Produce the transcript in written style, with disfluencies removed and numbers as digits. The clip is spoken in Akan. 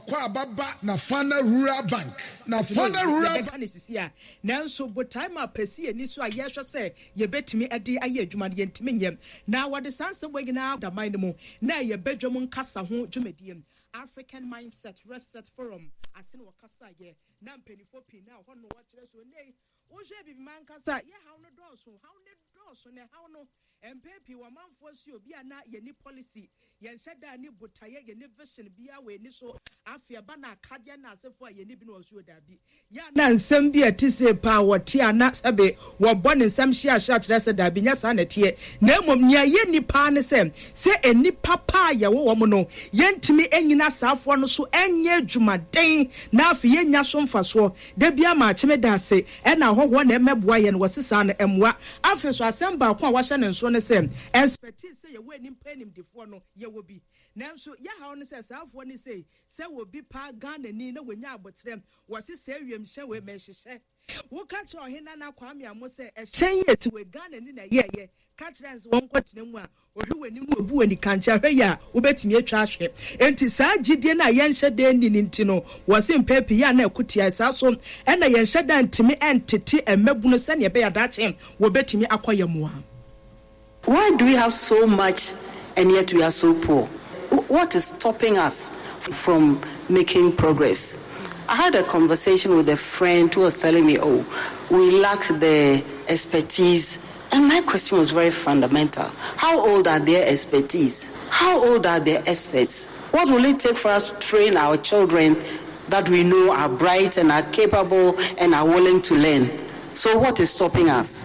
Akwaaba ba Nafana Rural Bank. Nafana Rural. Yɛbɛka no sisi a, nanso botae ma pɛ si yɛn ani so a yɛrehwɛ sɛ yɛbɛtumi de ayɛ adwuma no, yɛntumi nyɛ. Na wɔde saa nsɛm wei nyinaa da man no mu na ɛyɛ badwam nkasa ho dwumadie. African Mindset Reset Forum ase na wɔkasaeɛ, na mpanimfoɔ pii na ɛhɔ no wɔkyerɛ so. Nnɛ yi, wohwɛ Abibiman ankasa a, yɛ haw no dɔɔso, haw no dɔɔso, na ɛhaw no Mpɛn pii wɔ ɔmanfoɔ so yɛ obi a na yɛnni policy, yɛnhyɛ da nni botaeɛ, yɛnni vision biara wɔ yɛn ani so, afei ɛba no akadeɛ ne asefoɔ a yɛnni bi no wɔ so o daabi. Yɛ a na nsɛm bi a ɛte sei paa wɔte a na sɛbe wɔbɔ ne nsam hyeahyea kyerɛ sɛ daabi nyɛ saa na ɛteɛ, na mmom nea yɛnni paa ne sɛ, sɛ nnipa pa a yɛwɔ wɔn no yɛntumi nnyina saafoɔ no so nyɛ adwumaden na afei yɛnnya so mfasoɔ. Da biara maakye meda ase ɛna ahɔhoɔ na ɛmɛboa yɛn wɔ sesaa no ɛmmoa. Afei nso asɛm baako a wahyɛ no nso ne sɛ expertise sɛ yɛwɔ animpa animdefoɔ no yɛwɔ bi nanso yɛhaw ne sɛ saa foɔ no sei sɛ obi paa Ghanani na wanya aboterɛ wɔ sesɛɛ wiemhyɛn wei mehyehyɛ Woka kyerɛ Ɔhene Nana Kwame Amoh sɛ ɛhyɛn yi esi wei Ghanani na ɛyɛɛyɛ ka kyerɛ no sɛ wɔnkɔtena mu a, ɔhwɛ w'anim na ɔbu w'ani kankyee ahwɛ yie a, wobɛtumi atwa ahwɛ. Enti saa gyidie no a yɛnhyɛ da nni no nti no, wɔse mpɛn pii yɛ a na ɛko tia yɛn. Saa nso na yɛnhyɛ da ntumi ntete mmabunu sɛdeɛ ɛbɛyɛ a daakye wɔbɛtumi akɔ yɛn mmoa. Why do we have so much and yet we are so poor? What is stopping us from making progress? I had a conversation with a friend who was telling me, oh, we lack the expertise. And my question was very fundamental. How old are their expertise? How old are their experts? What will it take for us to train our children that we know are bright and are capable and are willing to learn? So what is stopping us?